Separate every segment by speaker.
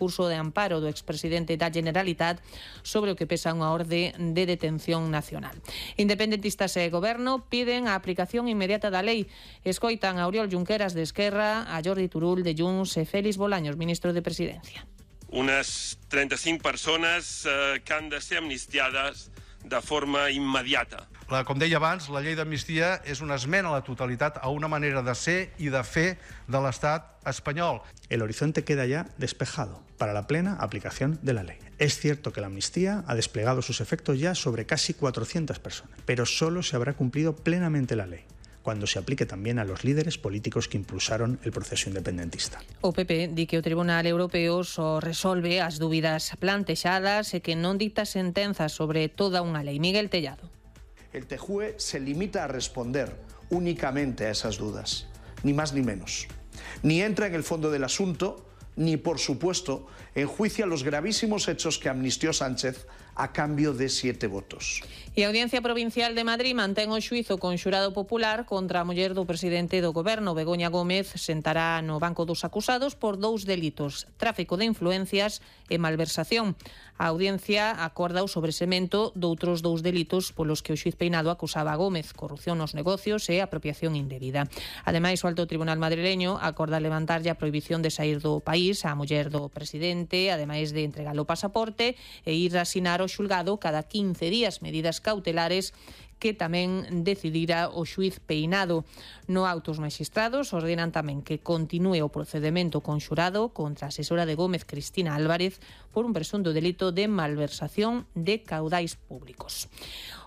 Speaker 1: curso de amparo do expresidente da Generalitat sobre o que pesa unha orde de detención nacional. Independentistas e Goberno piden a aplicación inmediata da lei. Escoitan a Oriol Junqueras de Esquerra, a Jordi Turull de Junts e Félix Bolaños, ministro de Presidencia.
Speaker 2: Unes 35 persones que han de ser amnistiades de forma immediata.
Speaker 3: Com deia abans, la llei d'amnistia és una esmena a la totalitat a una manera de ser i de fer de l'estat espanyol.
Speaker 4: El horizonte queda ya despejado para la plena aplicación de la ley. Es cierto que la amnistía ha desplegado sus efectos ya sobre casi 400 personas, pero solo se habrá cumplido plenamente la ley cuando se aplique también a los líderes políticos que impulsaron el proceso independentista.
Speaker 1: O PP di que o Tribunal Europeo só resolve as dúbidas plantexadas e que non dicta sentenzas sobre toda unha lei. Miguel Tellado.
Speaker 5: El TJUE se limita a responder únicamente a esas dudas, ni más ni menos. Ni entra en el fondo del asunto, ni, por supuesto, enjuicia los gravísimos hechos que amnistió Sánchez a cambio de 7 votos.
Speaker 1: E a Audiencia Provincial de Madrid mantén o xuízo con xurado popular contra a muller do presidente do Goberno. Begoña Gómez sentará no banco dos acusados por 2 delitos: tráfico de influencias e malversación. A Audiencia acorda o sobresemento doutros 2 delitos polos que o xuiz Peinado acusaba a Gómez: corrupción nos negocios e apropiación indebida. Ademais, o Alto Tribunal madrileño acorda levantarlle a prohibición de sair do país á muller do presidente, ademais de entregar o pasaporte e ir a asinar o xulgado cada 15 días medidas cautelares que tamén decidira o xuiz Peinado. No auto, os maxistrados ordenan tamén que continúe o procedemento conxurado contra a asesora de Gómez, Cristina Álvarez, por un presunto delito de malversación de caudais públicos.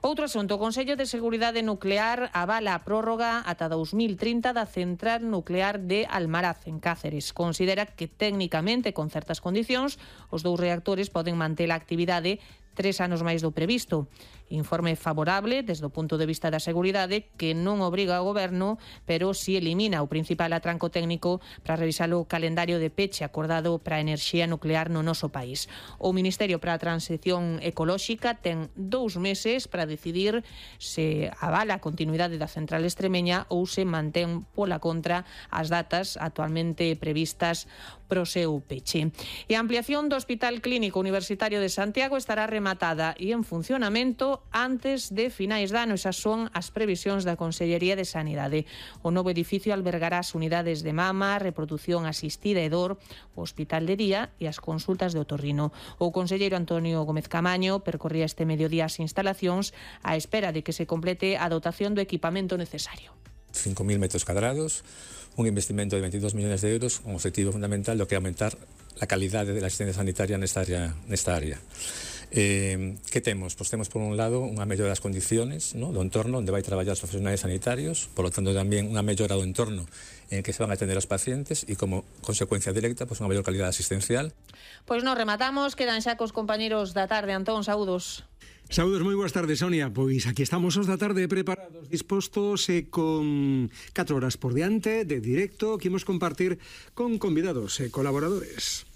Speaker 1: Outro asunto, o Consello de Seguridade Nuclear avala a prórroga ata 2030 da central nuclear de Almaraz, en Cáceres. Considera que técnicamente, con certas condicións, os 2 reactores poden manter a actividade 3 anos máis do previsto. Informe favorable desde o punto de vista da seguridade, que non obriga ao Goberno, pero si elimina o principal atranco técnico para revisar o calendario de peche acordado para a enerxía nuclear no noso país. O Ministerio para a Transición Ecolóxica ten 2 meses para decidir se avala a continuidade da central extremeña ou se mantén pola contra as datas actualmente previstas pro seu peche. E a ampliación do Hospital Clínico Universitario de Santiago estará rematada e en funcionamento antes de finais de ano. Esas son as previsións da Consellería de Sanidade. O novo edificio albergará as unidades de mama, reproducción asistida e dor, o hospital de día e as consultas de otorrino. O conselleiro Antonio Gómez Camaño percorría este mediodía as instalacións á espera de que se complete a dotación do equipamento necesario.
Speaker 6: 5.000 metros cuadrados, un investimento de 22 millones de euros, un objetivo fundamental do que é aumentar a calidade da asistencia sanitaria nesta área. Que temos? Pois temos, por un lado, unha mellora das condiciones, do entorno onde vai traballar os profesionais sanitarios, por lo tanto, tamén unha mellora do entorno en que se van a atender os pacientes e, como consecuencia directa, unha mellor calidade asistencial.
Speaker 1: Pois nos rematamos, quedan xa cos compañeros da tarde. Antón, saúdos.
Speaker 7: Saúdos, moi boas tardes, Sonia. Pois aquí estamos os da tarde preparados, dispostos e con 4 horas por diante de directo que imos compartir con convidados e colaboradores.